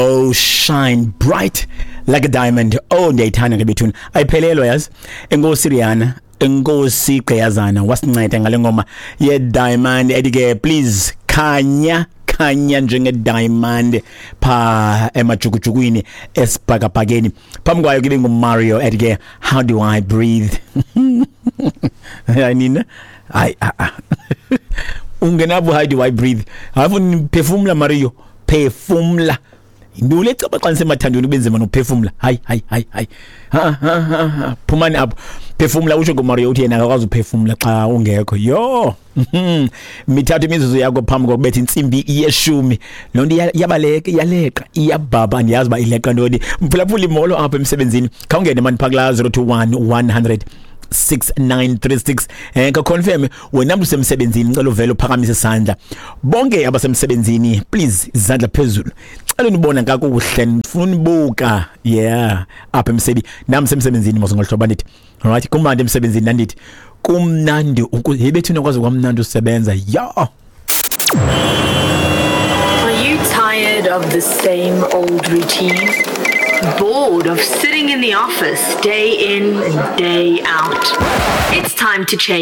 Oh, shine bright like a diamond. Oh, ndiyayithanda ke bethuna. Ayiphelelwa yazi. Enkosi Rihanna, enkosi Gqiyazana wasinceda ngale ngoma ye diamond ethi ke please khanya khanya njenge diamond pha emajukujukwini esibhakabhakeni. Phambi kwayo ke nguMario ethi ke how do I breathe. Hayi nina. Hayi ah ah. Ungenabo how do I breathe. Hayi phefumla Mario, phefumla. Yintoni le caba xa nisemathandweni kube nzima nokuphefumla? Hayi hayi hayi hayi. Ha ha ha. Phumani apho. Phefumla utsho kuMario uthi yena akakwazi uphefumla xa ungekho. Yho. Mithathu imizuzu yakho phambi kokubetha intsimbi yeshumi. Loo nto iyabaleka, iyaleqa, iyabhabha, andiyazi uba ileqa ntoni. Mphulaphuli molo apha emsebenzini. Khawungene mani phaa kulaa 021 100 6936 ka confirm wena mntu usemsebenzini, ngicela uvele uphakamise isandla. Bonke abasemsebenzini please izandla phezulu. Cela unibona kakuhle, ndifuna unibuka. Yeah, apha emsebi nami semsebenzini mos ngohlobo ndithi. Alright, kumnandi emsebenzini nandithi. Kumnandi yebethu kwaze kwamnandi usebenza. Yeah. Are you tired of the same old routine? Bored of sitting in the office day in and day out? It's time to change.